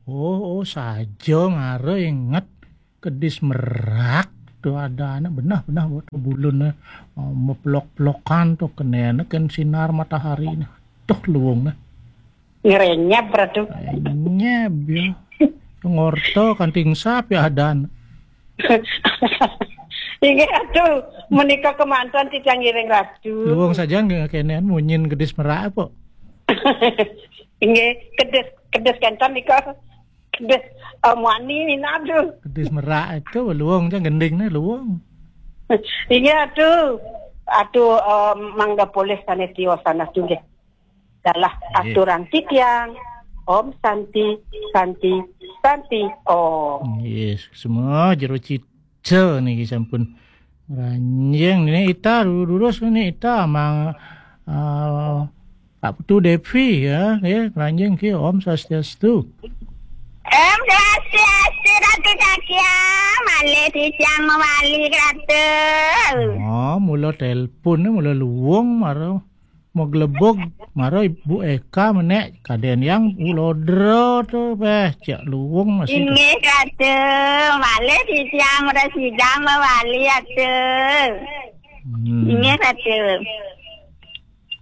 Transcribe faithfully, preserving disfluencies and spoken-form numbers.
Oh, oh, saja mara inget kedis merak tu ada anak benah-benah buat bulun, eh, meplok-plokan tu kenene ken sinar matahari ne. Tuh luwung ne. Ngerenyep, Ratu. Nyeb ya. Ngorto kanting sap ya adan. Inggih, Ratu. Menika kemanten titiang ngiring, Ratu. Luwung saja nggih kenen munyin kedis merak apa? Inggih, kedis, kedis kenten nika. Kedis, eh, muani minab, Ratu. Kedis merak itu luwung aja gending ne luwung. Inggih, Ratu. Aduh, eh, mangga polih sanes tiosan, Ratu, nggih. Dalah Nggih. Aturang titiang. Om Santi, Santi, Santi, Om. Yes, semua jero cica niki sampun ranjing. Ini ita durus ini ita mang, eh, Pak Putu Devi ya, ya ranjing ki Om Swastiastu. Om Swastiastu, Ratu Cakia. Malih titiang mawali, Ratu. Oh, mula telepon ni mula luwung mara maglebug mara Ibu Eka menek kaden yang ulodra tu beh cek luwung masih tu. Inggih, Ratu. Malih titiang prasida mawali, Ratu. Hmm. Inggih, Ratu.